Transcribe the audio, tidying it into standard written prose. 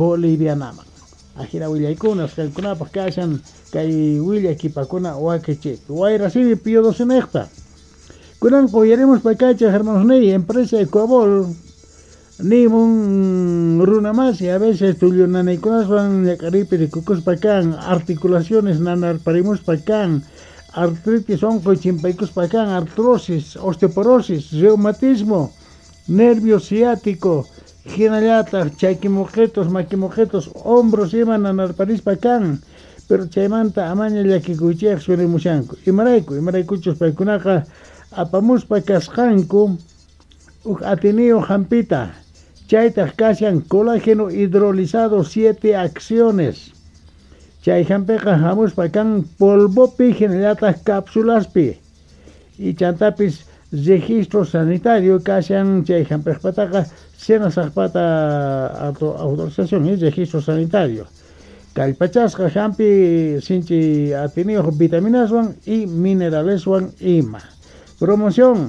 Bolivianaman. Ajina willaykunas qankunapaj kashan kay willakipakuna wakichiypi. Wayrasimi Pío XII. Kunanqa uyarimuspa kachaj, hermanos, empresa Ecuabol nimun: runamasi, a veces tullu nanaykunaswan ñak'ariypi rikukuspa kan, articulaciones nanarparimuspa kan, artritis onqoy chimpaykuspa kan, artrosis, osteoporosis, reumatismo, nervio ciático, hinallataq chakimoqetos, makimoqetos, hombros ima nanarparispa kan. Pero chaymanta amaña llakikuychejchu nimushanku. Imarayku? Imaraykuchus paykunaqa apamuspa kasqanku uj atiniyuq hampita. Chaytaq kashan colágeno hidrolizado 7 acciones. Chay hampiqa hamuspa kan polvopi hinallataq cápsulaspi. Y chantapis registro sanitario kashan chay hampiqpataqa, SENASACpata autorización y registro sanitario. Kallpachasqa hampi sinchi atiniyuq vitaminaswan y mineraleswan ima. Promoción.